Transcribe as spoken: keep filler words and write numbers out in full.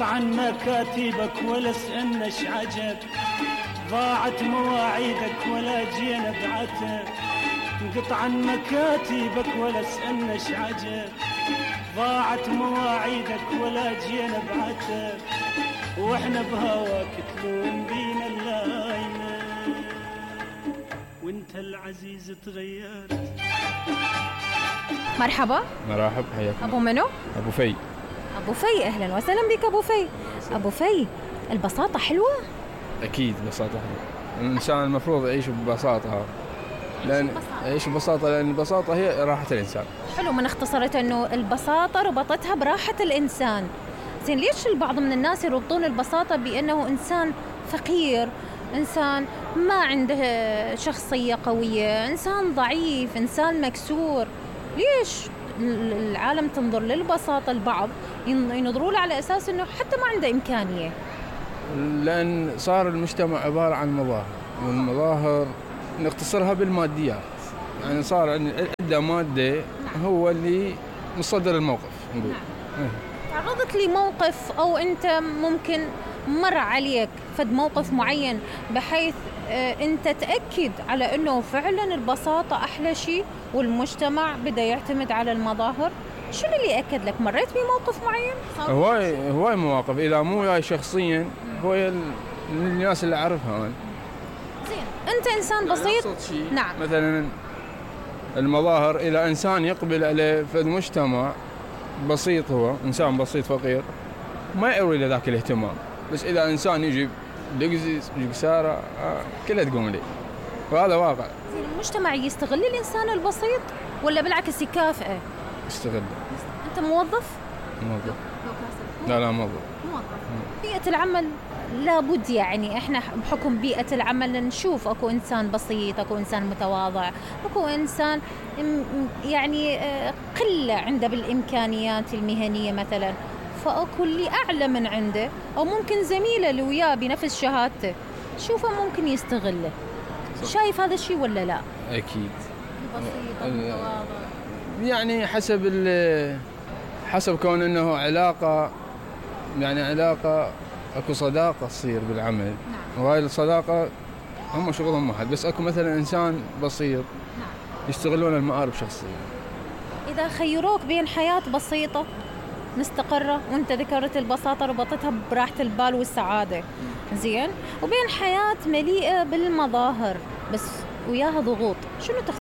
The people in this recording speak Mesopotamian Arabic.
عن مكاتبك ولا سألناش عجب، ضاعت مواعيدك ولا جينا بعتب. انقطع عن مكاتبك ولا سألناش عجب، ضاعت مواعيدك ولا جينا بعتب. واحنا بهواك تلوم بينا اللايمة، وانت العزيز تغيرت. مرحبا. مرحب، حياك. ابو منو؟ ابو في. ابو في، اهلا وسهلا بك ابو في. ابو في، البساطة حلوة؟ اكيد بساطة حلوة، الانسان المفروض يعيش ببساطة، لان يعيش ببساطة لان البساطة هي راحة الانسان. حلو، من اختصرت انه البساطة ربطتها براحة الانسان. زين، ليش البعض من الناس يربطون البساطة بانه انسان فقير، انسان ما عنده شخصية قوية، انسان ضعيف، انسان مكسور؟ ليش العالم تنظر للبساطة؟ البعض ينظروا له على اساس انه حتى ما عنده امكانية. لان صار المجتمع عبارة عن مظاهر، والمظاهر نختصرها بالماديات، يعني صار عندنا مادة هو اللي مصدر الموقف نقول. نعم. تعرضت لي موقف او انت ممكن مر عليك فد موقف معين بحيث اه انت تأكد على انه فعلا البساطة احلى شيء والمجتمع بدا يعتمد على المظاهر؟ شنو اللي اكد لك؟ مريت بموقف معين؟ هواي هواي مواقف، اذا مو وياي شخصيا هو الناس اللي اعرفها انا. زين، انت انسان بسيط. نعم. مثلا المظاهر اذا انسان يقبل عليه في المجتمع بسيط، هو انسان بسيط فقير ما يروي له ذاك الاهتمام، بس اذا انسان يجي لقزيز يجي ساره آه كلها تقوم لي، وهذا واقع. زين، المجتمع يستغل الانسان البسيط ولا بالعكس يكافئه؟ يستغل. انت موظف؟ موظف. لا لا موظف. موظف. بيئة العمل لابد، يعني احنا بحكم بيئة العمل نشوف اكو انسان بسيط، اكو انسان متواضع، اكو انسان يعني قلة عنده بالامكانيات المهنية مثلا، فاكو اللي اعلى من عنده او ممكن زميله اللي وياه بنفس شهادته شوفه ممكن يستغله. شايف هذا الشيء ولا لا؟ اكيد. بسيط متواضع، يعني حسب حسب كون انه علاقة، يعني علاقة اكو صداقة تصير بالعمل. نعم. وهاي الصداقة هم شغلهم واحد، بس اكو مثلا انسان بسيط. نعم. يستغلون المآرب شخصية. اذا خيروك بين حياة بسيطة مستقرة، وانت ذكرت البساطة ربطتها براحة البال والسعادة، زين، وبين حياة مليئة بالمظاهر بس وياها ضغوط، شنو تختار؟